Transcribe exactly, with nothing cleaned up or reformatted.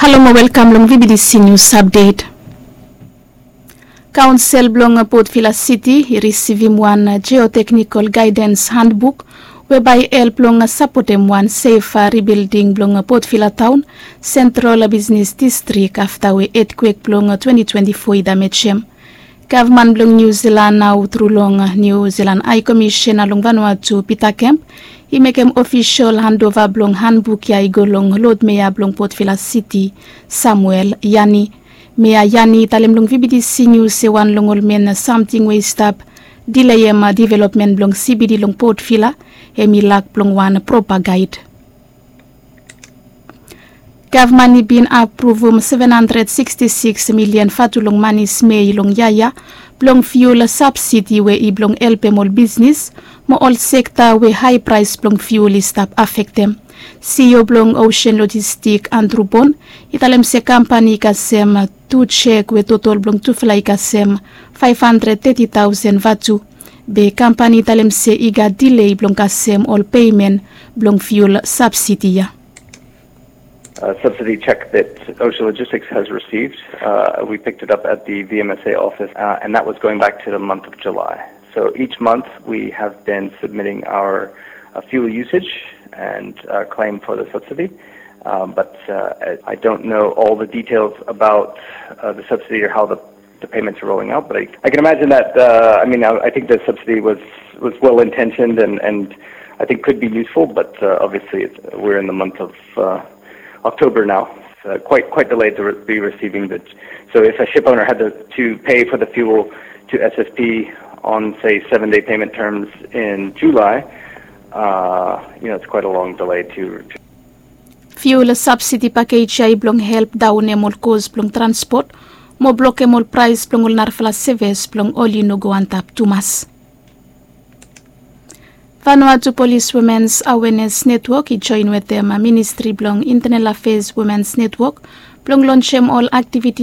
Halo mo welkam long V B D C News Update. Kaonsel blong Port Vila City i risivim wan geoteknikol gaidens handbuk we bae i help long sapotem wan sef ribilding blong Port Vila taon, sentral bisnis distrik afta we etkwek blong twenti twenti fo i damejem. Gavman blong Niu Zilan nao tru long Niu Zilan Hae Komisena long Vanuatu Pita Kemp i mekem ofisol handova blong handbuk ya i go long lod mea blong Port Vila Siti, Samuel Yani. Mea Yani i talem long V B D C Nius se wan long ol men samting we i stap dileem developmen blong C B D long Port Vila hemi lak blong wan propa gaed. Gavman i bin apruvum seven handred siksti siks milian vatu long mani smei long yia ya blong fiul sabsidi we i blong helpem ol bisnis mo ol sekta we hae praes blong fiul i stap afektem. CEO blong Ocean Logistik Andrew Bon i talem se kampani i kasem tu jek we totol blong tufala i kasem faef handred teti taosen vatu. Be kampani i talem se i gat dilei blong kasem ol peimen blong fiul sabsidi ya. A subsidy check that Ocean Logistics has received. Uh, we picked it up at the V M S A office, uh, and that was going back to the month of July. So each month we have been submitting our uh, fuel usage and uh, claim for the subsidy. Um, but uh, I- I don't know all the details about uh, the subsidy or how the the payments are rolling out. But I, I can imagine that. Uh, I mean, I, I think the subsidy was was well intentioned and and I think could be useful. But uh, obviously, it's, we're in the month of uh, October now. It's uh, quite quite delayed to re- be receiving the. So if a ship owner had to, to pay for the fuel to S S P on say seven day payment terms in July, uh, you know, it's quite a long delay to. to Fiul sabsidi pakej ya i blong help daonem ol kos blong transpot mo blokem ol praes blong ol narafala seves blong oli no go antap tumas. Vanuatu Polis Womens Awenes Netwok i joen wetem Ministri blong Intenal Afes Womens Netwok blong lonsem ol aktiviti